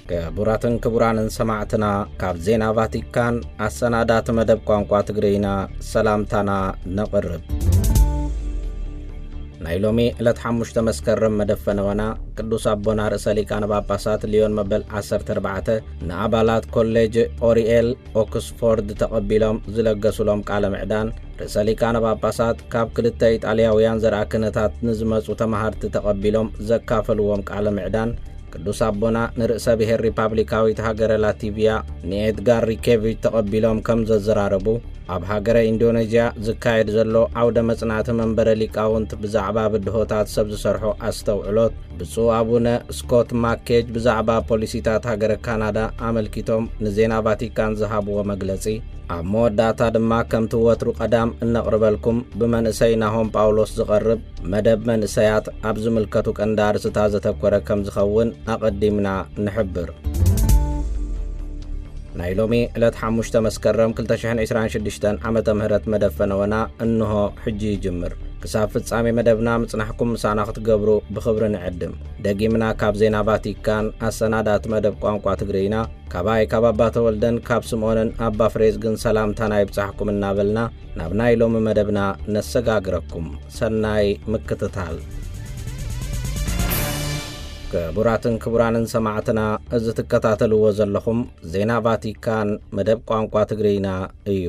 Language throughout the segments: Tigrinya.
ክቡራትን ክቡራንን ሰማዕትና፣ ካብ ዜና ቫቲካን ኣሰናዳእቲ መደብ ቋንቋ ትግርይና ሰላምታና ነቕርብ። ናይ ሎሚ ዕለት ሓሙሽተ መስከረም መደብ ፈነወና፣ ቅዱስ ኣቦና ርእሰ ሊቃነ ጳጳሳት ሊዮን መበል ዓሰርተ ኣርባዕተ ንኣባላት ኮሌጅ ኦሪኤል ኦክስፎርድ ተቐቢሎም ዝለገሱሎም ቃለ ምዕዳን፣ ርእሰ ሊቃነ ጳጳሳት ካብ ክልተ ኢጣልያውያን ዘርኣ ክህነታት ንዝመጹ ተማሃርቲ ተቐቢሎም ዘካፈልዎም ቃለ ምዕዳን፣ ቅዱስ ኣቦና ንርእሰ ብሔር ሪፓብሊካዊት ሃገረ ላቲቪያ ንኤድጋር ሪኬቪች ተቐቢሎም ከም ዘዘራረቡ፣ ኣብ ሃገረ ኢንዶኔዥያ ዝካየድ ዘሎ ዓውደ መጽናዕቲ መንበረ ሊቃውንት ብዛዕባ ብድሆታት ሰብ ዝሰርሖ ኣስተውዕሎት፣ ብፁዕ ኣቡነ ስኮት ማኬጅ ብዛዕባ ፖሊሲታት ሃገረ ካናዳ ኣመልኪቶም ንዜና ቫቲካን ዝሃብዎ መግለጺ፣ ኣብ መወዳእታ ድማ ከምቲ ወትሩ ቀዳም እነቕርበልኩም ብመንእሰይ ናሆም ጳውሎስ ዝቐርብ መደብ መንእሰያት ኣብ ዝምልከቱ ቀንዲ ኣርእስታት ዘተኮረ ከም ዝኸውን ኣቐዲምና ንሕብር። ናይ ሎሚ ዕለት ሓሙሽተ መስከረም ክልተ ሽሕን ዕስራን ሽዱሽተን ዓመተ ምህረት መደብ ፈነወና እንሆ ሕጂ ይጅምር። ክሳብ ፍጻሜ መደብና ምጽናሕኩም ምሳና ክትገብሩ ብኽብሪ ንዕድም። ደጊምና ካብ ዜና ቫቲካን ኣሰናዳእቲ መደብ ቋንቋ ትግርይና፣ ካባይ ካብ ኣባ ተወልደን ካብ ስምዖንን ኣባ ፍሬዝግን ሰላምታና ይብጻሕኩም እናበልና፣ ናብ ናይ ሎሚ መደብና ነሰጋግረኩም። ሰናይ ምክትታል። ክቡራትን ክቡራንን ሰማዕትና፣ እዚ ትከታተልዎ ዘለኹም ዜና ቫቲካን መደብ ቋንቋ ትግርይና እዩ።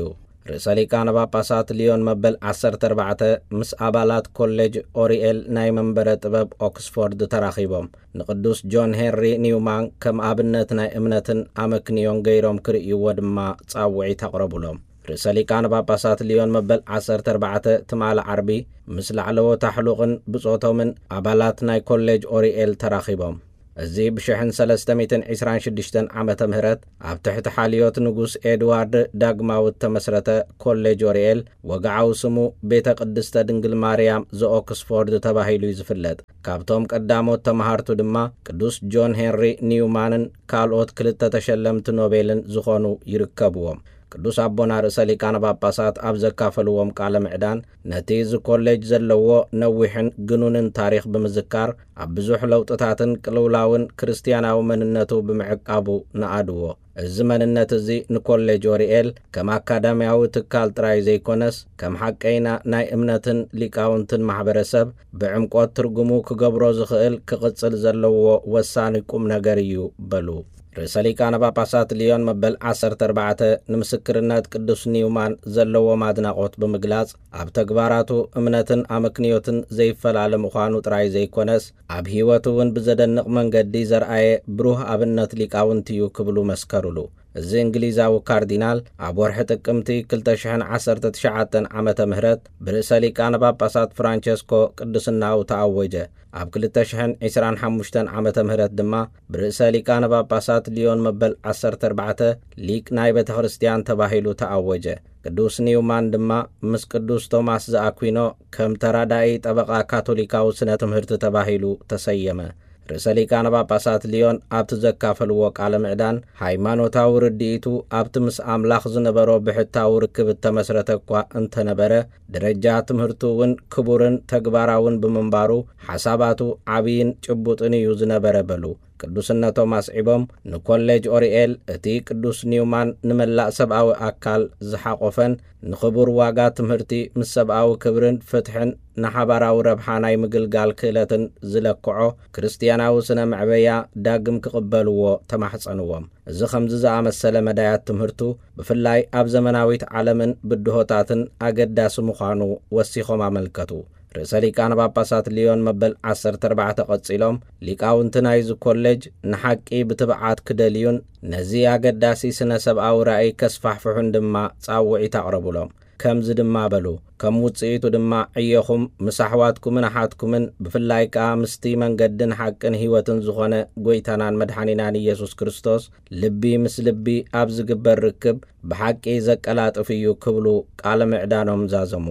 ርእሰ ሊቃነ ጳጳሳት ሊዮን መበል ዓሰርተ ኣርባዕተ ምስ ኣባላት ኮሌጅ ኦሪኤል ናይ መንበረ ጥበብ ኦክስፎርድ ተራኺቦም፣ ንቅዱስ ጆን ሄንሪ ኒውማን ከም ኣብነት ናይ እምነትን ኣመክንዮን ገይሮም ክርእይዎ ድማ ጻውዒት ኣቕረቡሎም። ርእሰ ሊቃነ ጳጳሳት ሊዮን መበል ዓሰርተ ኣርባዕተ ትማሊ ዓርቢ ምስ ላዕለዎት ኣሕሉቕን ብጾቶምን ኣባላት ናይ ኮሌጅ ኦሪኤል ተራኺቦም። እዚ ብሽሕን ሰለስተ ሚእትን ዕስራን ሽዱሽተን ዓመተ ምህረት ኣብ ትሕቲ ሓልዮት ንጉስ ኤድዋርድ ዳግማዊ እተመስረተ ኮሌጅ ኦሪኤል፣ ወግዓዊ ስሙ ቤተ ቅድስተ ድንግል ማርያም ዘኦክስፎርድ ተባሂሉ እዩ ዝፍለጥ። ካብቶም ቀዳሞት ተማሃርቱ ድማ ቅዱስ ጆን ሄንሪ ኒውማንን ካልኦት ክልተ ተሸለምቲ ኖቤልን ዝኾኑ ይርከብዎም። ቅዱስ ኣቦና ርእሰ ሊቃነ ጳጳሳት ኣብ ዘካፈልዎም ቃለ ምዕዳን፣ ነቲ እዚ ኮሌጅ ዘለዎ ነዊሕን ግኑንን ታሪኽ ብምዝካር፣ ኣብ ብዙሕ ለውጥታትን ቅልውላውን ክርስትያናዊ መንነቱ ብምዕቃቡ ነኣድዎ። እዚ መንነት እዚ ንኮሌጅ ኦሪኤል ከም ኣካዳሚያዊ ትካል ጥራይ ዘይኮነስ፣ ከም ሓቀይና ናይ እምነትን ሊቃውንትን ማሕበረሰብ ብዕምቆት ትርጉሙ ክገብሮ ዝኽእል ክቕጽል ዘለዎ ወሳኒ ቁም ነገር እዩ በሉ። ርእሰ ሊቃነ ጳጳሳት ሊዮን መበል ዓሰርተ ኣርባዕተ ንምስክርነት ቅዱስ ኒውማን ዘለዎም ኣድናቖት ብምግላጽ፣ ኣብ ተግባራቱ እምነትን ኣመክንዮትን ዘይፈላለ ምዃኑ ጥራይ ዘይኮነስ፣ ኣብ ህይወቱ እውን ብዘደንቕ መንገዲ ዘርኣየ ብሩህ ኣብነት ሊቃውንቲ እዩ ክብሉ መስከሩሉ። እዚ እንግሊዛዊ ካርዲናል ኣብ ወርሒ ጥቅምቲ ክልተ ሽሕን ዓሰርተ ትሽዓተን ዓመተ ምህረት ብርእሰ ሊቃነ ጳጳሳት ፍራንቸስኮ ቅድስናኡ ተኣወጀ። ኣብ ክልተ ሽሕን ዕስራን ሓሙሽተን ዓመተ ምህረት ድማ ብርእሰ ሊቃነ ጳጳሳት ሊዮን መበል ዓሰርተ ኣርባዕተ ሊቅ ናይ ቤተ ክርስቲያን ተባሂሉ ተኣወጀ። ቅዱስ ኒውማን ድማ ምስ ቅዱስ ቶማስ ዘኣኩዊኖ ከም ተራዳኢ ጠበቓ ካቶሊካዊ ስነ ትምህርቲ ተባሂሉ ተሰየመ። ርእሰ ሊቃነ ጳጳሳት ሊዮን ኣብቲ ዘካፈልዎ ቃለ ምዕዳን፣ ሃይማኖታዊ ርድኢቱ ኣብቲ ምስ ኣምላኽ ዝነበሮ ብሕታዊ ርክብ እተመስረተ እኳ እንተነበረ፣ ደረጃ ትምህርቱ እውን ክቡርን ተግባራውን ብምንባሩ፣ ሓሳባቱ ዓብይን ጭቡጥን እዩ ዝነበረ በሉ። ቅዱስነቶም ኣስዒቦም፣ ንኮሌጅ ኦሪኤል እቲ ቅዱስ ኒውማን ንመላእ ሰብኣዊ ኣካል ዝሓቖፈን፣ ንኽቡር ዋጋ ትምህርቲ ምስ ሰብኣዊ ክብርን ፍትሕን ንሓባራዊ ረብሓ ናይ ምግልጋል ክእለትን ዝለክዖ ክርስትያናዊ ስነ መዕበያ ዳግም ክቕበልዎ ተማሕጸንዎም። እዚ ከምዚ ዝኣመሰለ መዳያት ትምህርቱ ብፍላይ ኣብ ዘመናዊት ዓለምን ብድሆታትን ኣገዳሲ ምዃኑ ወሲኾም ኣመልከቱ። ርእሰ ሊቃነ ጳጳሳት ሊዮን መበል ዓሰርተ ኣርባዕተ ቀጺሎም፣ ሊቃውንቲ ናይዚ ኮሌጅ ንሓቂ ብትብዓት ክደልዩን ነዚ ኣገዳሲ ስነ ሰብኣዊ ራእይ ከስፋሕፍሑን ድማ ጻውዒት ኣቕረቡሎም። ከምዚ ድማ በሉ፣ ከም ውጽኢቱ ድማ ዕዮኹም ምስ ኣሕዋትኩምን ኣሓትኩምን ብፍላይ ከኣ ምስቲ መንገድን ሓቅን ህይወትን ዝኾነ ጐይታናን መድሓኒናን ኢየሱስ ክርስቶስ ልቢ ምስ ልቢ ኣብ ዝግበር ርክብ ብሓቂ ዘቀላጥፍ እዩ ክብሉ ቃለ ምዕዳኖም ዛዘሙ።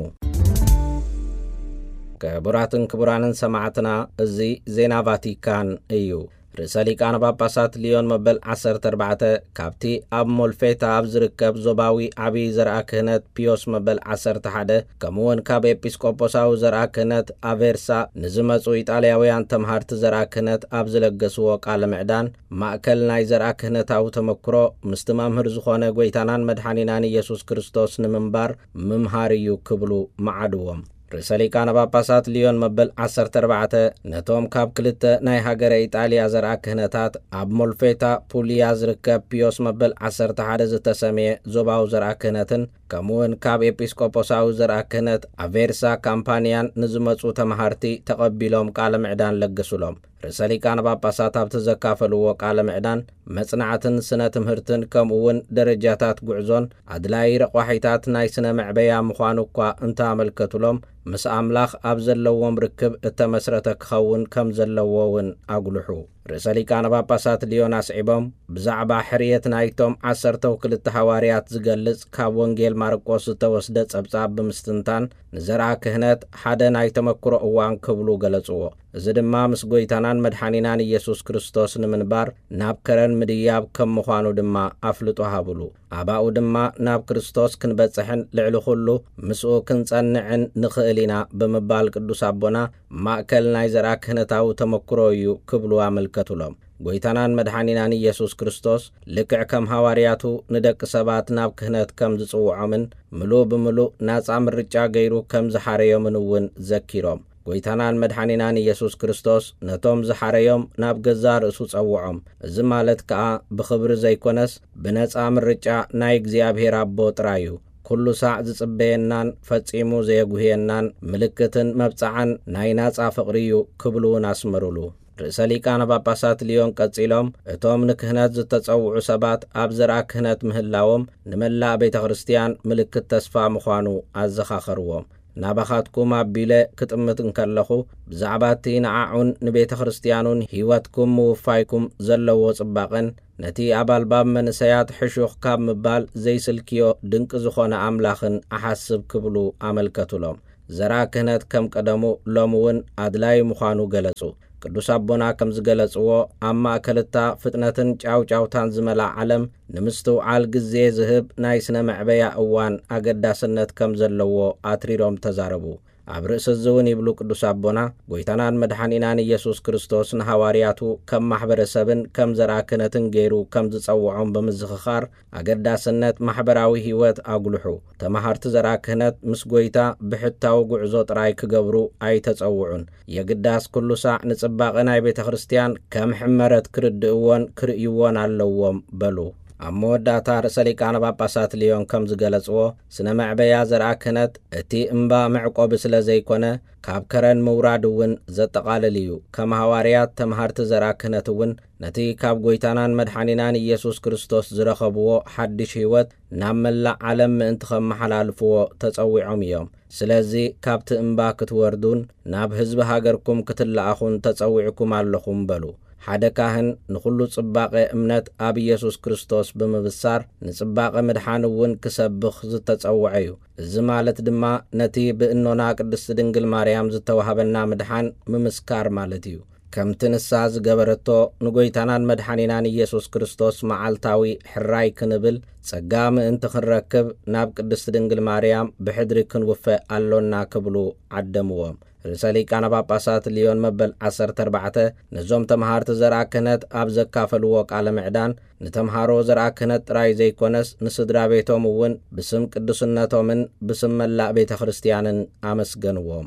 ክቡራትን ክቡራንን ሰማዕትና፣ እዚ ዜና ቫቲካን እዩ። ርእሰ ሊቃነ ጳጳሳት ሊዮን መበል ዓሰርተ ኣርባዕተ ካብቲ ኣብ ሞልፌታ ኣብ ዝርከብ ዞባዊ ዓብዪ ዘርኣ ክህነት ፒዮስ መበል ዓሰርተ ሓደ፣ ከምኡ እውን ካብ ኤጲስቆጶሳዊ ዘርኣ ክህነት ኣቬርሳ ንዝመጹ ኢጣልያውያን ተምሃርቲ ዘርኣ ክህነት ኣብ ዝለገስዎ ቃለ ምዕዳን፣ ማእከል ናይ ዘርኣ ክህነታዊ ተመክሮ ምስቲ መምህር ዝኾነ ጎይታናን መድሓኒናን ኢየሱስ ክርስቶስ ንምንባር ምምሃር እዩ ክብሉ መዓድዎም። ርእሰ ሊቃነ ጳጳሳት ሊዮን መበል ዓሰርተ ኣርባዕተ ነቶም ካብ ክልተ ናይ ሃገረ ኢጣልያ ዘርኣ ክህነታት፣ ኣብ ሞልፌታ ፑልያ ዝርከብ ፒዮስ መበል ዓሰርተ ሓደ ዝተሰምየ ዞባዊ ዘርኣ ክህነትን ከምኡውን ካብ ኤጲስቆጶሳዊ ዘርኣ ክህነት ኣቬርሳ ካምፓንያን ንዝመጹ ተማሃርቲ ተቐቢሎም ቃለ ምዕዳን ለገሱሎም። ርእሰ ሊቃነ ጳጳሳት ኣብቲ ዘካፈልዎ ቃለ ምዕዳን፣ መጽናዕትን ስነ ትምህርትን ከምኡ እውን ደረጃታት ጉዕዞን ኣድላዪ ረቋሒታት ናይ ስነ መዕበያ ምዃኑ እኳ እንተኣመልከቱሎም፣ ምስ ኣምላኽ ኣብ ዘለዎም ርክብ እተመስረተ ክኸውን ከም ዘለዎ እውን ኣጉልሑ። ርእሰ ሊቃነ ጳጳሳት ሊዮን ኣስዒቦም፣ ብዛዕባ ሕርየት ናይቶም ዓሰርተው ክልተ ሃዋርያት ዝገልጽ ካብ ወንጌል ማርቆስ ዝተወስደ ጸብጻብ ብምስትንታን፣ ንዘርኣ ክህነት ሓደ ናይ ተመክሮ እዋን ክብሉ ገለጽዎ። እዚ ድማ ምስ ጎይታናን መድሓኒናን ኢየሱስ ክርስቶስ ንምንባር ናብ ከረን ምድያብ ከም ምዃኑ ድማ ኣፍልጦ ሃብሉ። ኣባኡ ድማ ናብ ክርስቶስ ክንበጽሕን ልዕሊ ኩሉ ምስኡ ክንጸንዕን ንኽእል ኢና ብምባል ቅዱስ ኣቦና ማእከል ናይ ዘርኣ ክህነታዊ ተመክሮ እዩ ክብሉ ኣመልከቱሎም። ጎይታናን መድሓኒናን ኢየሱስ ክርስቶስ ልክዕ ከም ሃዋርያቱ ንደቂ ሰባት ናብ ክህነት ከም ዝጽውዖምን ምሉእ ብምሉእ ናጻ ምርጫ ገይሩ ከም ዝሓረዮምን እውን ዘኪሮም። ጎይታናን መድሓኒናን ኢየሱስ ክርስቶስ ነቶም ዝሓረዮም ናብ ገዛ ርእሱ ጸውዖም። እዚ ማለት ከኣ ብኽብሪ ዘይኮነስ ብነጻ ምርጫ ናይ እግዚኣብሔር ኣቦ ጥራይ እዩ። ኩሉ ሳዕ ዝጽበየናን ፈጺሙ ዘየጉህየናን ምልክትን መብጽዓን ናይ ናጻ ፍቕሪ እዩ ክብሉ እውን ኣስመሩሉ። ርእሰ ሊቃነ ጳጳሳት ሊዮን ቀጺሎም፣ እቶም ንክህነት ዝተጸውዑ ሰባት ኣብ ዘርኣ ክህነት ምህላዎም ንመላእ ቤተ ክርስቲያን ምልክት ተስፋ ምዃኑ ኣዘኻኸርዎም። ናባኻትኩም ኣቢለ ክጥምት እንከለኹ፣ ብዛዕባ እቲ ንዓዑን ንቤተ ክርስቲያኑን ህይወትኩም ምውፋይኩም ዘለዎ ጽባቐን፣ ነቲ ኣብ ኣልባብ መንእሰያት ሕሹኽ ካብ ምባል ዘይስልክዮ ድንቂ ዝኾነ ኣምላኽን እሓስብ ክብሉ ኣመልከቱሎም። ዘርኣ ክህነት ከም ቀደሙ ሎሚ እውን ኣድላዪ ምዃኑ ገለጹ። ቅዱስ ኣቦና ከም ዝገለጽዎ፣ ኣብ ማእከል እታ ፍጥነትን ጫውጫውታን ዝመልኣ ዓለም ንምስትውዓል ግዜ ዝህብ ናይ ስነ መዕበያ እዋን ኣገዳስነት ከም ዘለዎ ኣትሪሮም ተዛረቡ። ኣብ ርእሲ እዚ እውን ይብሉ ቅዱስ ኣቦና፣ ጎይታናን መድሓኒናን ኢየሱስ ክርስቶስ ንሃዋርያቱ ከም ማሕበረሰብን ከም ዘርኣ ክህነትን ገይሩ ከም ዝጸውዖም ብምዝኽኻር፣ ኣገዳስነት ማሕበራዊ ህይወት ኣጉልሑ። ተማሃርቲ ዘርኣ ክህነት ምስ ጎይታ ብሕታዊ ጉዕዞ ጥራይ ክገብሩ ኣይተጸውዑን። የግዳስ ኩሉ ሳዕ ንጽባቐ ናይ ቤተ ክርስቲያን ከም ሕመረት ክርድእዎን ክርእይዎን ኣለዎም በሉ። ኣብ መወዳእታ ርእሰ ሊቃነ ጳጳሳት ሊዮን ከም ዝገለጽዎ፣ ስነ መዕበያ ዘርኣ ክህነት እቲ እምባ መዕቆቢ ስለ ዘይኮነ፣ ካብ ከረን ምውራድ እውን ዘጠቓልል እዩ። ከም ሃዋርያት ተምሃርቲ ዘርኣ ክህነት እውን ነቲ ካብ ጎይታናን መድሓኒናን ኢየሱስ ክርስቶስ ዝረኸብዎ ሓድሽ ህይወት ናብ መላእ ዓለም ምእንቲ ኸመሓላልፍዎ ተጸዊዖም እዮም። ስለዚ ካብቲ እምባ ክትወርዱን ናብ ህዝቢ ሃገርኩም ክትለኣኹን ተጸዊዕኩም ኣለኹም በሉ። ሓደ ካህን ንኹሉ ጽባቐ እምነት ኣብ ኢየሱስ ክርስቶስ ብምብሳር ንጽባቐ ምድሓን እውን ክሰብኽ ዝተጸውዐ እዩ። እዚ ማለት ድማ ነቲ ብእኖና ቅድስቲ ድንግል ማርያም ዝተዋህበና ምድሓን ምምስካር ማለት እዩ። ከምቲ ንሳ ዝገበረቶ ንጎይታናን መድሓኒናን ኢየሱስ ክርስቶስ መዓልታዊ ሕራይ ክንብል ጸጋ ምእንቲ ክንረክብ ናብ ቅድስቲ ድንግል ማርያም ብሕድሪ ክንውፈ ኣሎና ክብሉ ዓደምዎም። ርእሰ ሊቃነ ጳጳሳት ሊዮን መበል ዓሰርተ ኣርባዕተ ነዞም ተምሃርቲ ዘርኣ ክህነት ኣብ ዘካፈልዎ ቃለ ምዕዳን፣ ንተምሃሮ ዘርኣ ክህነት ጥራይ ዘይኮነስ ንስድራ ቤቶም እውን ብስም ቅዱስነቶምን ብስም መላእ ቤተ ክርስቲያንን ኣመስገንዎም።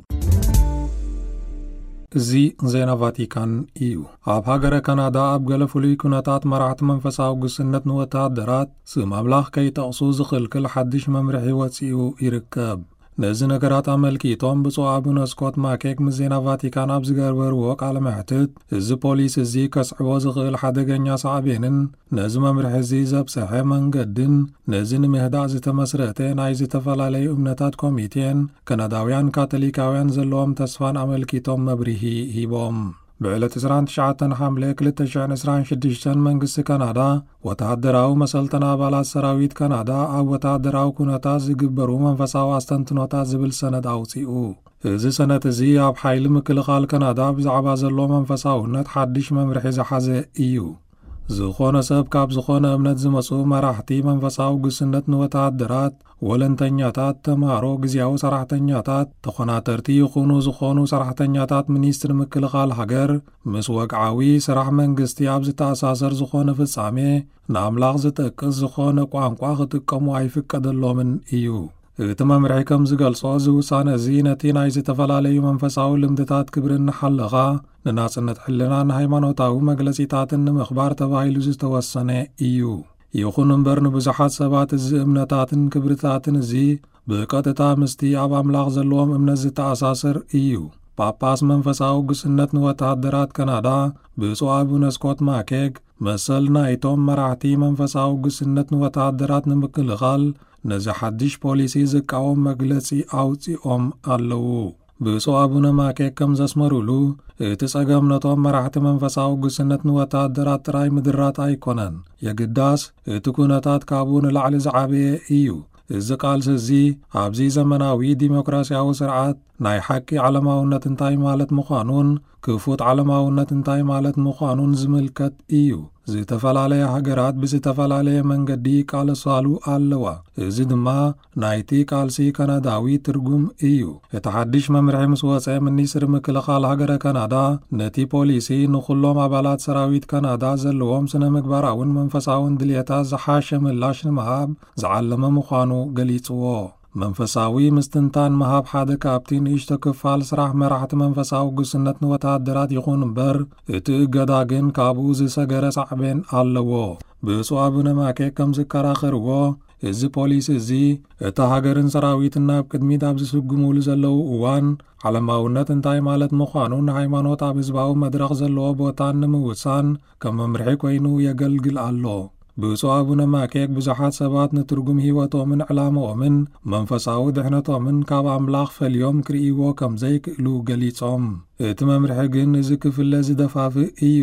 እዚ ዜና ቫቲካን እዩ። ኣብ ሃገረ ካናዳ ኣብ ገለ ፍሉይ ኩነታት መራሕቲ መንፈሳዊ ግስነት ንወተሃደራት ስም ኣምላኽ ከይጠቕሱ ዝኽልክል ሓድሽ መምርሒ ወጺኡ ይርከብ። ነዚ ነገራት ኣመልኪቶም ብፁዕ ኣቡነ ስኮት ማኬክ ምስ ዜና ቫቲካን ኣብ ዝገበርዎ ቃለ መሕትት፣ እዚ ፖሊስ እዚ ከስዕቦ ዝኽእል ሓደገኛ ሳዕቤንን ነዚ መምርሒ እዚ ዘብጽሐ መንገድን፣ ነዚ ንምህዳእ ዝተመስረተ ናይ ዝተፈላለዩ እምነታት ኮሚቴን ካናዳውያን ካቶሊካውያን ዘለዎም ተስፋን ኣመልኪቶም መብርሂ ሂቦም። ብዕለት ዕስራን ትሽዓተን ሓምለ ክልተ ሽሕን ዕስራን ሽዱሽተን መንግስቲ ካናዳ፣ ወተሃደራዊ መሰልተን ኣባላት ሰራዊት ካናዳ ኣብ ወተሃደራዊ ኩነታት ዝግበሩ መንፈሳዊ ኣስተንትኖታት ዝብል ሰነድ ኣውጺኡ። እዚ ሰነድ እዚ ኣብ ሓይሊ ምክልኻል ካናዳ ብዛዕባ ዘሎ መንፈሳውነት ሓድሽ መምርሒ ዝሓዘ እዩ። ዝኾነ ሰብ ካብ ዝኾነ እምነት ዝመጹ መራሕቲ መንፈሳዊ ግስነት ንወተሃደራት፣ ወለንተኛታት፣ ተምሃሮ፣ ግዝያዊ ሰራሕተኛታት፣ ተኾናተርቲ ይኹኑ ዝኾኑ ሰራሕተኛታት ሚኒስትሪ ምክልኻል ሃገር፣ ምስ ወግዓዊ ስራሕ መንግስቲ ኣብ ዝተኣሳሰር ዝኾነ ፍጻሜ፣ ንኣምላኽ ዝጠቅስ ዝኾነ ቋንቋ ክጥቀሙ ኣይፍቀደሎምን እዩ። እቲ መምርሒ ከም ዝገልጾ፣ እዚ ውሳነ እዚ ነቲ ናይ ዝተፈላለዩ መንፈሳዊ ልምድታት ክብሪ እናሓለኻ፣ ንናጽነት ሕልናን ሃይማኖታዊ መግለጺታትን ንምኽባር ተባሂሉ ዝተወሰነ እዩ። ይኹን እምበር፣ ንብዙሓት ሰባት እዚ እምነታትን ክብርታትን እዚ ብቐጥታ ምስቲ ኣብ ኣምላኽ ዘለዎም እምነት ዝተኣሳሰር እዩ። ጳጳስ መንፈሳዊ ግስነት ንወተሃደራት ካናዳ፣ ብፁዕ ኣቡነ ስኮት ማኬግ፣ መሰል ናይቶም መራሕቲ መንፈሳዊ ግስነት ንወተሃደራት ንምክልኻል፣ ነዚ ሓድሽ ፖሊሲ ዝቃወም መግለጺ ኣውጺኦም ኣለዉ። ብፁዕ ኣቡነ ማኬግ ከም ዘስመሩሉ፣ እቲ ጸገም ነቶም መራሕቲ መንፈሳዊ ግስነት ንወተሃደራት ጥራይ ምድራት ኣይኮነን። የግዳስ፣ እቲ ኩነታት ካብኡ ንላዕሊ ዝዓበየ እዩ። እዚ ቃልሲ እዚ ኣብዚ ዘመናዊ ዲሞክራሲያዊ ስርዓት ናይ ሓቂ ዓለማውነት እንታይ ማለት ምዃኑን ክፉት ዓለማውነት እንታይ ማለት ምዃኑን ዝምልከት እዩ። ዝተፈላለያ ሃገራት ብዝተፈላለየ መንገዲ ይቃለሳሉ ኣለዋ። እዚ ድማ ናይቲ ቃልሲ ካናዳዊ ትርጉም እዩ። እቲ ሓድሽ መምርሒ ምስ ወጸ፣ ሚኒስትሪ ምክልኻል ሃገረ ካናዳ ነቲ ፖሊሲ ንኹሎም ኣባላት ሰራዊት ካናዳ ዘለዎም ስነ ምግባራውን መንፈሳውን ድልየታት ዝሓሸ ምላሽ ንምሃብ ዝዓለመ ምዃኑ ገሊጽዎ። መንፈሳዊ ምስትንታን ምሃብ ሓደ ካብቲ ንእሽቶ ክፋል ስራሕ መራሕቲ መንፈሳዊ ግስነት ንወተሃደራት ይኹን እምበር፣ እቲ እገዳ ግን ካብኡ ዝሰገረ ሳዕቤን ኣለዎ። ብፁዕ ኣቡነ ማኬ ከም ዝከራኸርዎ፣ እዚ ፖሊሲ እዚ እታ ሃገርን ሰራዊትን ናብ ቅድሚት ኣብ ዝስጉሙሉ ዘለዉ እዋን፣ ዓለማውነት እንታይ ማለት ምዃኑን ሃይማኖት ኣብ ህዝባዊ መድረኽ ዘለዎ ቦታን ንምውሳን ከም መምርሒ ኮይኑ የገልግል ኣሎ። ብፁዕ ኣቡነ ማኬክ ብዙሓት ሰባት ንትርጉም ህይወቶምን ዕላምኦምን መንፈሳዊ ድሕነቶምን ካብ ኣምላኽ ፈልዮም ክርእይዎ ከም ዘይክእሉ ገሊጾም። እቲ መምርሒ ግን እዚ ክፍለ ዝደፋፍእ እዩ።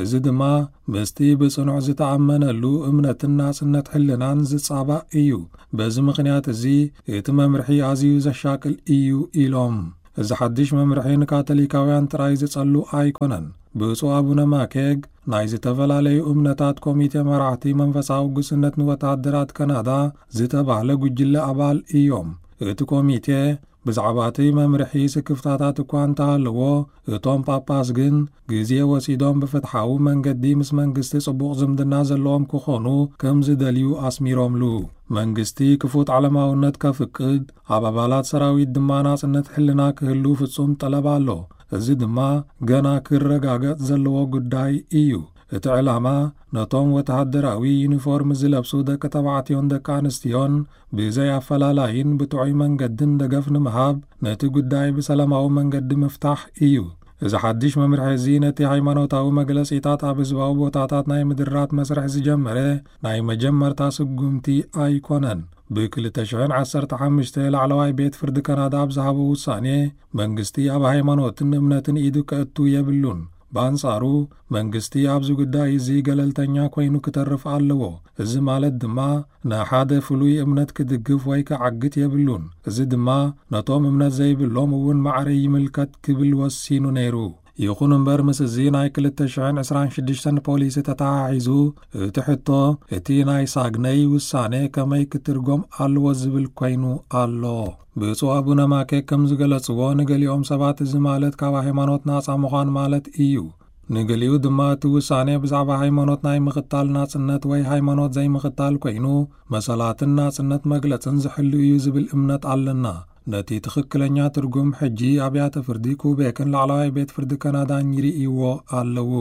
እዚ ድማ ምስቲ ብጽኑዕ ዝተኣመነሉ እምነትን ናጽነት ሕልናን ዝጻባእ እዩ። በዚ ምኽንያት እዚ እቲ መምርሒ ኣዝዩ ዘሻቅል እዩ ኢሎም። እዚ ሓድሽ መምርሒ ንካቶሊካውያን ጥራይ ዝጸሉ ኣይኮነን። ብፁዕ ኣቡነ ማኬግ ናይ ዝተፈላለዩ እምነታት ኮሚቴ መራሕቲ መንፈሳዊ ግስነት ንወተሃደራት ካናዳ ዝተባህለ ጉጅለ ኣባል እዮም። እቲ ኮሚቴ ብዛዕባ እቲ መምርሒ ስክፍታታት እኳ እንተሃለዎ፣ እቶም ጳጳስ ግን ግዜ ወሲዶም ብፍትሓዊ መንገዲ ምስ መንግስቲ ጽቡቕ ዝምድና ዘለዎም ክኾኑ ከም ዝደልዩ ኣስሚሮምሉ። መንግስቲ ክፉት ዓለማውነት ከፍቅድ፣ ኣብ ኣባላት ሰራዊት ድማ ናጽነት ሕልና ክህሉ ፍጹም ጠለብ ኣሎ። እዚ ድማ ገና ክረጋገጽ ዘለዎ ጉዳይ እዩ። እቲ ዕላማ ነቶም ወተሃደራዊ ዩኒፎርም ዝለብሱ ደቂ ተባዕትዮን ደቂ ኣንስትዮን ብዘይ ኣፈላላይን ብጥዑይ መንገድን ደገፍ ንምሃብ፣ ነቲ ጉዳይ ብሰላማዊ መንገዲ ምፍታሕ እዩ። እዚ ሓድሽ መምርሒ እዚ ነቲ ሃይማኖታዊ መግለጺታት ኣብ ህዝባዊ ቦታታት ናይ ምድራት መስርሕ ዝጀመረ ናይ መጀመርታ ስጉምቲ ኣይኮነን። ብ ክልተ ሽሕን ዓሰርተ ሓሙሽተ ላዕለዋይ ቤት ፍርዲ ካናዳ ኣብ ዝሃቦ ውሳኔ፣ መንግስቲ ኣብ ሃይማኖትን እምነትን ኢዱ ከእቱ የብሉን። ብኣንጻሩ፣ መንግስቲ ኣብዚ ጉዳይ እዚ ገለልተኛ ኮይኑ ክተርፍ ኣለዎ። እዚ ማለት ድማ፣ ንሓደ ፍሉይ እምነት ክድግፍ ወይ ክዓግት የብሉን። እዚ ድማ፣ ነቶም እምነት ዘይብሎም እውን ማዕረ ይምልከት ክብል ወሲኑ ነይሩ። ይኹን እምበር፣ ምስ እዚ ናይ ክልተ ሽሕን ዕስራን ሽዱሽተን ፖሊሲ ተተሓሒዙ፣ እቲ ሕቶ፣ እቲ ናይ ሳግነይ ውሳኔ ከመይ ክትርጎም ኣለዎ ዝብል ኮይኑ ኣሎ። ብፁዕ ኣቡነ ማኬ ከም ዝገለጽዎ፣ ንገሊኦም ሰባት እዚ ማለት ካብ ሃይማኖት ናጻ ምዃን ማለት እዩ። ንገሊኡ ድማ እቲ ውሳኔ ብዛዕባ ሃይማኖት ናይ ምኽታል ናጽነት ወይ ሃይማኖት ዘይምኽታል ኮይኑ፣ መሰላትን ናጽነት መግለጽን ዝሕሉ እዩ ዝብል እምነት ኣለና። ነቲ ትኽክለኛ ትርጉም ሕጂ ኣብያተ ፍርዲ ኩቤክን ላዕለዋይ ቤት ፍርዲ ካናዳን ይርእይዎ ኣለዉ።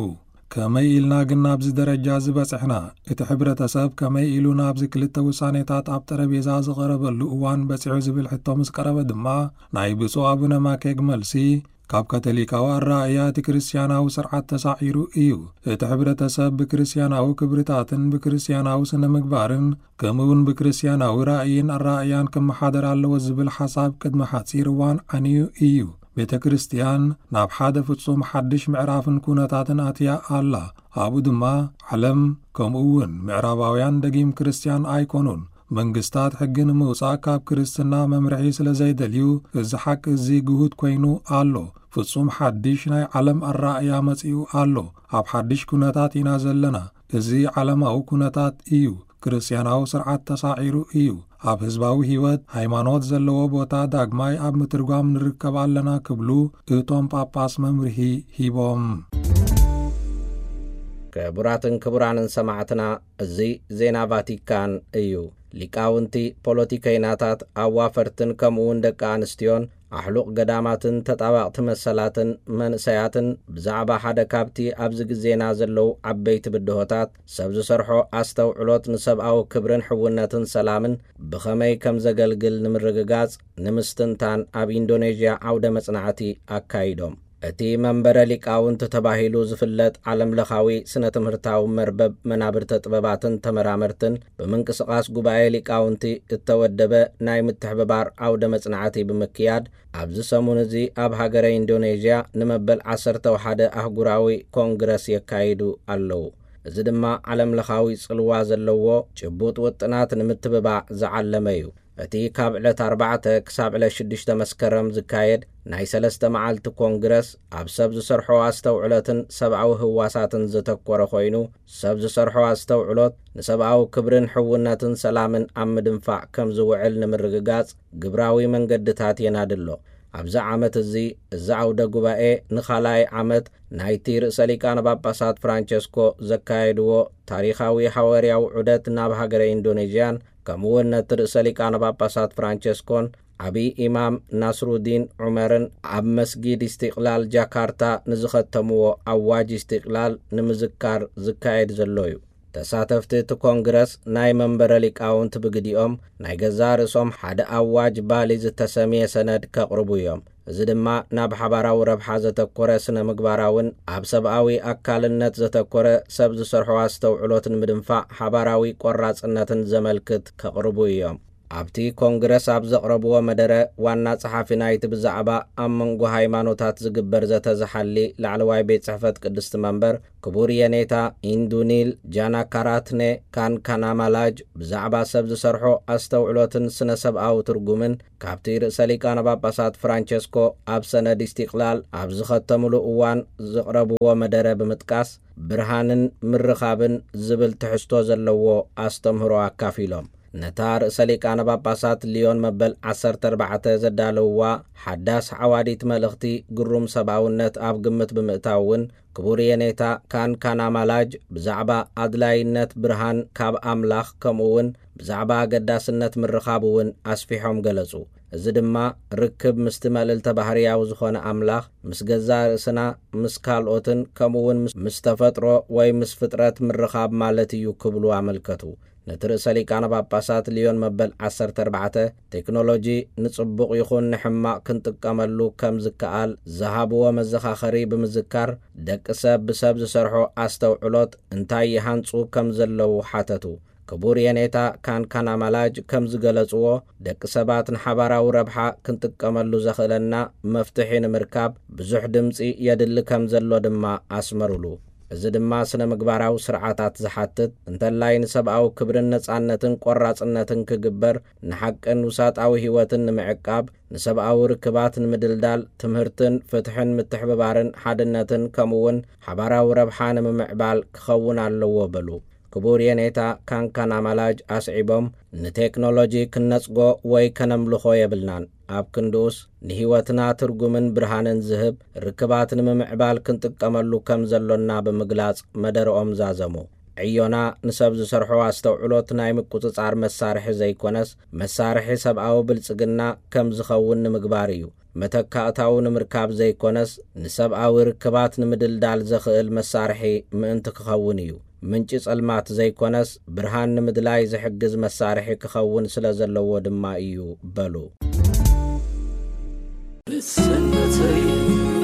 ከመይ ኢልና ግን ናብዚ ደረጃ እዚ በጺሕና? እቲ ሕብረተሰብ ከመይ ኢሉ ናብዚ ክልተ ውሳኔታት ኣብ ጠረጴዛ ዝቐረበሉ እዋን በጺሑ ዝብል ሕቶ ምስ ቀረበ ድማ፣ ናይ ብፁዕ ኣቡነ ማኬግ መልሲ፣ ካብ ካቶሊካዊ ኣረኣእያ እቲ ክርስትያናዊ ስርዓት ተሳዒሩ እዩ። እቲ ሕብረተሰብ ብክርስትያናዊ ክብርታትን ብክርስትያናዊ ስነ ምግባርን ከምኡውን ብክርስትያናዊ ራእይን ኣረኣእያን ክመሓደር ኣለዎ ዝብል ሓሳብ ቅድሚ ሓጺር እዋን ዓንዩ እዩ። ቤተ ክርስቲያን ናብ ሓደ ፍጹም ሓድሽ ምዕራፍን ኩነታትን ኣትያ ኣላ። ኣብኡ ድማ ዓለም ከምኡ እውን ምዕራባውያን ደጊም ክርስቲያን ኣይኮኑን። መንግስታት ሕጊ ንምውጻእ ካብ ክርስትና መምርሒ ስለ ዘይደልዩ፣ እዚ ሓቂ እዚ ግሁድ ኮይኑ ኣሎ። ፍጹም ሓድሽ ናይ ዓለም ኣረኣእያ መጺኡ ኣሎ። ኣብ ሓድሽ ኩነታት ኢና ዘለና። እዚ ዓለማዊ ኩነታት እዩ። ክርስትያናዊ ስርዓት ተሳዒሩ እዩ። ኣብ ህዝባዊ ህይወት ሃይማኖት ዘለዎ ቦታ ዳግማይ ኣብ ምትርጓም ንርከብ ኣለና ክብሉ እቶም ጳጳስ መምርሂ ሂቦም። ክቡራትን ክቡራንን ሰማዕትና፣ እዚ ዜና ቫቲካን እዩ። ሊቃውንቲ፣ ፖለቲከይናታት፣ ኣዋፈርትን ከምኡውን ደቂ ኣንስትዮን ኣሕሉቕ ገዳማትን ተጣባቕቲ መሰላትን መንእሰያትን ብዛዕባ ሓደ ካብቲ ኣብዚ ግዜና ዘለዉ ዓበይቲ ብድሆታት፣ ሰብ ዝሰርሖ ኣስተውዕሎት ንሰብኣዊ ክብርን ሕውነትን ሰላምን ብኸመይ ከም ዘገልግል ንምርግጋጽ ንምስትንታን ኣብ ኢንዶኔዥያ ዓውደ መጽናዕቲ ኣካይዶም። እቲ መንበረ ሊቃውንቲ ተባሂሉ ዝፍለጥ ዓለምለኻዊ ስነ ትምህርታዊ መርበብ መናብርተ ጥበባትን ተመራመርትን ብምንቅስቓስ ጉባኤ ሊቃውንቲ እተወደበ ናይ ምትሕብባር ዓውደ መጽናዕቲ ብምክያድ፣ ኣብዚ ሰሙን እዚ ኣብ ሃገረ ኢንዶኔዥያ ንመበል ዓሰርተ ሓደ ኣህጉራዊ ኮንግረስ የካይዱ ኣለዉ። እዚ ድማ ዓለምለኻዊ ጽልዋ ዘለዎ ጭቡጥ ውጥናት ንምትብባዕ ዝዓለመ እዩ። እቲ ካብ ዕለት ኣርባዕተ ክሳብ ዕለት ሽዱሽተ መስከረም ዝካየድ ናይ ሰለስተ መዓልቲ ኮንግረስ ኣብ ሰብ ዝሰርሖ ኣስተውዕሎትን ሰብኣዊ ህዋሳትን ዘተኮረ ኮይኑ፣ ሰብ ዝሰርሖ ኣስተውዕሎት ንሰብኣዊ ክብርን ሕውነትን ሰላምን ኣብ ምድንፋዕ ከም ዝውዕል ንምርግጋጽ ግብራዊ መንገድታት የናድሎ። ኣብዚ ዓመት እዚ፣ እዚ ዓውደ ጉባኤ ንኻልኣይ ዓመት ናይቲ ርእሰ ሊቃነ ጳጳሳት ፍራንቸስኮ ዘካየድዎ ታሪኻዊ ሃዋርያዊ ዑደት ናብ ሃገረ ኢንዶኔዥያን፣ ከምኡውን ነቲ ርእሰ ሊቃነ ጳጳሳት ፍራንቸስኮን ዓብዪ ኢማም ናስሩዲን ዑመርን ኣብ መስጊድ ኢስቲቅላል ጃካርታ ንዝኸተምዎ ኣዋጅ ኢስቲቅላል ንምዝካር ዝካየድ ዘሎ እዩ። ተሳተፍቲ እቲ ኮንግረስ ናይ መንበረ ሊቃውንቲ ብግዲኦም ናይ ገዛእ ርእሶም ሓደ ኣዋጅ ባሊ ዝተሰምየ ሰነድ ከቕርቡ እዮም። እዚ ድማ ናብ ሓባራዊ ረብሓ ዘተኮረ ስነ ምግባራውን ኣብ ሰብኣዊ ኣካልነት ዘተኮረ ሰብ ዝሰርሖ ኣስተውዕሎት ንምድንፋዕ ሓባራዊ ቆራጽነትን ዘመልክት ከቕርቡ እዮም። ኣብቲ ኮንግረስ ኣብ ዘቕረብዎ መደረ፣ ዋና ጸሓፊ ናይቲ ብዛዕባ ኣብ መንጎ ሃይማኖታት ዝግበር ዘተ ዝሓሊ ላዕለዋይ ቤት ጽሕፈት ቅድስቲ መንበር ክቡር የኔታ ኢንዱኒል ጃናካራትነ ካንካናማላጅ ብዛዕባ ሰብ ዝሰርሖ ኣስተውዕሎትን ስነ ሰብኣዊ ትርጉምን ካብቲ ርእሰ ሊቃነ ጳጳሳት ፍራንቸስኮ ኣብ ሰነድ ኢስቲቅላል ኣብ ዝኸተምሉ እዋን ዘቕረብዎ መደረ ብምጥቃስ፣ ብርሃንን ምርኻብን ዝብል ትሕዝቶ ዘለዎ ኣስተምህሮ ኣካፊሎም። ነታ ርእሰ ሊቃነ ጳጳሳት ሊዮን መበል ዓሰርተ ኣርባዕተ ዘዳለውዋ ሓዳስ ዓዋዲት መልእኽቲ ግሩም ሰብኣውነት ኣብ ግምት ብምእታው እውን፣ ክቡር የኔታ ካንካናማላጅ ብዛዕባ ኣድላይነት ብርሃን ካብ ኣምላኽ፣ ከምኡ እውን ብዛዕባ ኣገዳስነት ምርኻብ እውን ኣስፊሖም ገለጹ። እዚ ድማ ርክብ ምስቲ መልእልተ ባህርያዊ ዝኾነ ኣምላኽ፣ ምስ ገዛእ ርእስና፣ ምስ ካልኦትን ከምኡ እውን ምስ፣ ምስ ተፈጥሮ ወይ ምስ ፍጥረት ምርኻብ ማለት እዩ ክብሉ ኣመልከቱ። ነቲ ርእሰ ሊቃነ ጳጳሳት ሊዮን መበል ዓሰርተ ኣርባዕተ፣ ቴክኖሎጂ ንጽቡቕ ይኹን ንሕማቕ ክንጥቀመሉ ከም ዝከኣል ዝሃብዎ መዘኻኸሪ ብምዝካር፣ ደቂ ሰብ ብሰብ ዝሰርሖ ኣስተውዕሎት እንታይ ይሃንጹ ከም ዘለዉ ሓተቱ። ክቡር የኔታ ካንካናማላጅ ከም ዝገለጽዎ፣ ደቂ ሰባት ንሓባራዊ ረብሓ ክንጥቀመሉ ዘኽእለና መፍትሒ ንምርካብ ብዙሕ ድምጺ የድሊ ከም ዘሎ ድማ ኣስመሩሉ። እዚ ድማ ስነ ምግባራዊ ስርዓታት ዝሓትት፣ እንተላይ ንሰብኣዊ ክብርን ነጻነትን ቆራጽነትን ክግበር፣ ንሓቅን ውሳጣዊ ህይወትን ንምዕቃብ፣ ንሰብኣዊ ርክባት ንምድልዳል፣ ትምህርትን ፍትሕን ምትሕብባርን ሓድነትን ከምኡውን ሓባራዊ ረብሓ ንምምዕባል ክኸውን ኣለዎ በሉ። ክቡር የኔታ ካንካናማላጅ ኣስዒቦም፣ ንቴክኖሎጂ ክንነጽጎ ወይ ከነምልኾ የብልናን። ኣብ ክንድኡስ፣ ንህይወትና ትርጉምን ብርሃንን ዝህብ ርክባት ንምምዕባል ክንጥቀመሉ ከም ዘሎና ብምግላጽ መደረኦም ዛዘሙ። ዕዮና ንሰብ ዝሰርሖ ኣስተውዕሎት ናይ ምቁጽጻር መሳርሒ ዘይኮነስ፣ መሳርሒ ሰብኣዊ ብልጽግና ከም ዝኸውን ንምግባር እዩ። መተካእታዊ ንምርካብ ዘይኮነስ፣ ንሰብኣዊ ርክባት ንምድልዳል ዘኽእል መሳርሒ ምእንቲ ክኸውን እዩ። ምንጪ ጸልማት ዘይኮነስ፣ ብርሃን ንምድላይ ዝሕግዝ መሳርሒ ክኸውን ስለ ዘለዎ ድማ እዩ በሉ። ስነተይ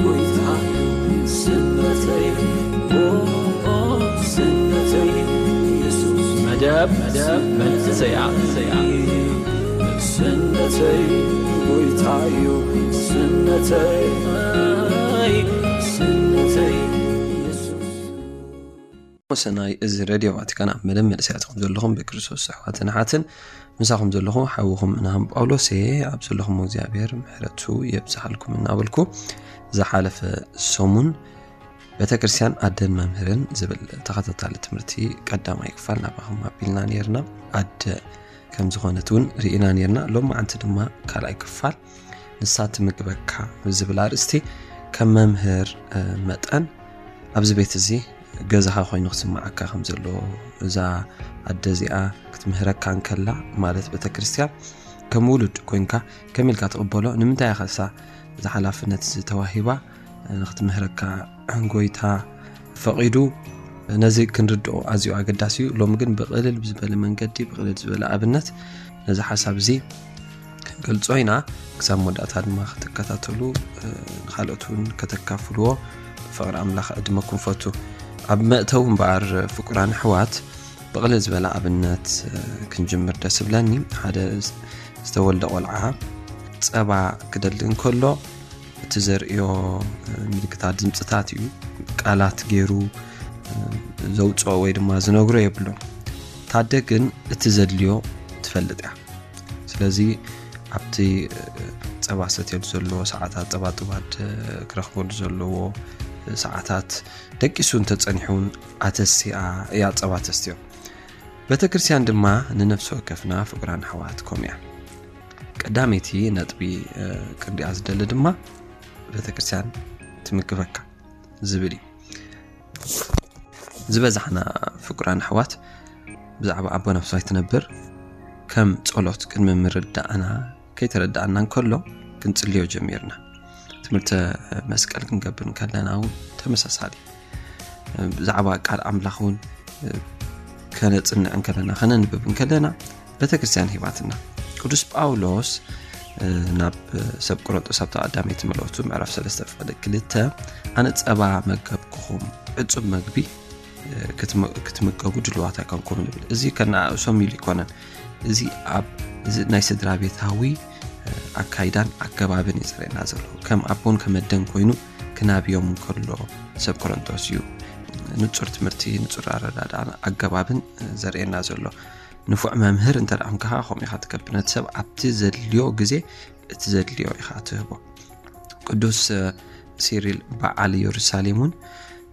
ጎይታ ስነተይ ኦ ስነተይ የሱስ መደብ መንእሰያ ስነተይ ጎይታዮ፣ ስነተይ፣ ስነተይ የሱስ። ሰናይ፣ እዚ ሬድዮ ቫቲካን ኣብ መደብ መንእሰያትኩም ዘለኹም ብክርስቶስ ኣሕዋትን ኣሓትን ምሳኹም ዘለኹ ሓውኹም ምናም ጳውሎስ እየ። ኣብ ዘለኹም እግዚኣብሔር ምሕረቱ የብዝሓልኩም እናበልኩ፣ ዝሓለፈ ሰሙን ቤተ ክርስቲያን ኣደን መምህርን ዝብል ተኸታታሊ ትምህርቲ ቀዳማይ ክፋል ናባኹም ኣቢልና ነርና። ኣደ ከም ዝኾነት እውን ርኢና ነርና። ሎም መዓንቲ ድማ ካልኣይ ክፋል ንሳ ትምግበካ ዝብል ኣርእስቲ ከም መምህር መጠን ኣብዚ ቤት እዚ ገዛኻ ኮይኑ ክስምዓካ ከም ዘሎ፣ እዛ ኣደ እዚኣ ክትምህረካ እንከላ ማለት ቤተ ክርስቲያን ከም ውሉድ ኮይንካ ከመይ ኢልካ ትቕበሎ? ንምንታይ ኢኻ እሳ እዚ ሓላፍነት ዝተዋሂባ ንክትምህረካ ጎይታ ፈቒዱ? ነዚ ክንርድኦ ኣዝዩ ኣገዳሲ እዩ። ሎሚ ግን ብቕልል ዝበለ መንገዲ፣ ብቕልል ዝበለ ኣብነት ነዚ ሓሳብ እዚ ክንገልጾ ኢና። ክሳብ መወዳእታ ድማ ክትከታተሉ፣ ንኻልኦት እውን ከተካፍልዎ ብፍቕሪ ኣምላኽ ዕድመኩም ፈቱ። ኣብ መእተዊ እምበኣር ፍቁራን ኣሕዋት ብቕልል ዝበለ ኣብነት ክንጅምር ደስ ይብለኒ። ሓደ ዝተወልደ ቆልዓ ጸባ ክደሊ እንከሎ እቲ ዘርእዮ ምልክታት ድምፅታት እዩ። ቃላት ገይሩ ዘውፅኦ ወይ ድማ ዝነግሮ የብሉን። ታደ ግን እቲ ዘድልዮ ትፈልጥ እያ። ስለዚ ኣብቲ ጸባ ሰትየሉ ዘለዎ ሰዓታት፣ ጸባ ጥባድ ክረኽበሉ ዘለዎ ሰዓታት ደቂሱ እንተጸኒሑ እውን ኣተሲኣ እያ ጸባ ተስትዮ። ቤተ ክርስቲያን ድማ ንነፍሲ ወከፍና ፍቁራን ኣሕዋት ከምኡ እያ። ቀዳመይቲ ነጥቢ ክንሪኣ ዝደሊ ድማ ቤተ ክርስቲያን ትምግበካ ዝብል እዩ። ዝበዛሕና ፍቁራን ኣሕዋት ብዛዕባ ኣቦ ነፍስዋይ ትነብር ከም ጸሎት ቅድሚ ምርዳእና ከይተረዳእና እንከሎ ክንጽልዮ ጀሚርና። ትምህርተ መስቀል ክንገብር እንከለና እውን ተመሳሳሊ፣ ብዛዕባ ቃል ኣምላኽ እውን ከነጽንዕ እንከለና፣ ከነንብብ እንከለና ቤተ ክርስቲያን ሂባትና። ቅዱስ ጳውሎስ ናብ ሰብ ቆሮንጦስ ኣብቲ ቀዳመይቲ መልእኽቱ ምዕራፍ ሰለስተ ፍቕዲ ክልተ፣ ኣነ ጸባ መገብኩኹም፣ ዕጹብ መግቢ ክትመ-፣ ክትምገቡ ድልዋት ኣይኮንኩም ንብል። እዚ ከነኣእሶም ኢሉ ኣይኮነን። እዚ ኣብ፣ እዚ ናይ ስድራ ቤታዊ ኣካይዳን ኣገባብን እዩ ዘርእየና ዘሎ። ከም ኣቦን ከም ኣደን ኮይኑ ክናብዮም እንከሎ ሰብ ቆሮንቶስ እዩ ንጹር ትምህርቲ፣ ንጹር ኣረዳድኣን ኣገባብን ዘርእየና ዘሎ። ንፉዕ መምህር እንተ ደኣ ኾንካ ከምኡ ኢኻ ትገብር። ነቲ ሰብ ኣብቲ ዘድልዮ ግዜ እቲ ዘድልዮ ኢኻ ትህቦ። ቅዱስ ሲሪል በዓል ኢየሩሳሌም እውን